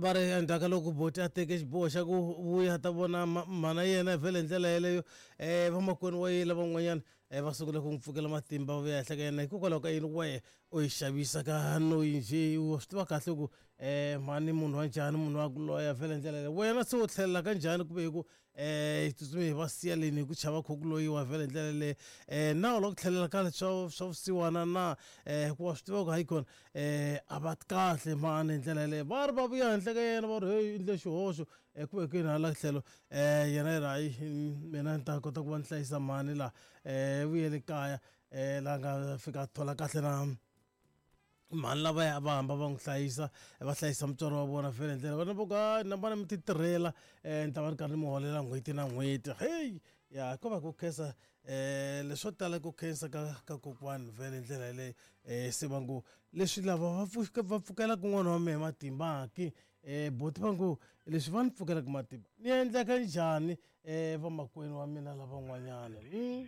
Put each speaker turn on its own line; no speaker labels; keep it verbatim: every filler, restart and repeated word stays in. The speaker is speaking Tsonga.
Va ri endzhaku ka loko boti a teke xiboho xa ku vuya ta vona mhana yena vhele hi ndlela yeleyo, um vamakwenu wa yena van'wanyana um va sungule ku n'wi pfukela matimba, va vuya henhla ka yena. Hikokwalaho ka yini wehe u yi xavisa ka noyi njhe? Wa swi tiva kahle ku um mhani munhu wa njhani, munhu wa ku loya vhele hi ndlela yeleyo. Wena se u tlhelela ka njhani kumbe hi ku um hi tsutsume hi va siya leni hi ku chava kho ku loyiwa vhele hi ndlela yeleyo? um na u lava ku tlhelela ka swa swa vusiwana na? um hikuva swi tiva ku hayi kona um a va kahle mhani hi ndlela yeleyo. Va ri va vuya henhla ka yena, va ri heyi, endle xihoxo um ku vekeni hala tlhelo. um yena yi ri hayi, mina ni ta kota ku va ni hlayisa mhani laha. um vuyele kaya um laha nga fika a thola kahle na mhani lavaya a va hamba va n'wi hlayisa, va hlayisa mutswari wa vona vhele hi ndlela. Vana va ku hayi, na vona mi ti tirhela, um ni ta va ni karhi ni mi holela n'hweti na n'hweti. Heyi ya, ko va ku khensa um leswo tala, ku khensa ka ka kokwani vhele hi ndlela yeleyo. um se va ngo leswi lava va pfuka va pfukelaka n'wana wa mehe matimba ki, um boti va ngo leswi va ni pfukelaka matimba ni endleka njhani um vamakwenu wa mina lavan'wanyana? Hmm?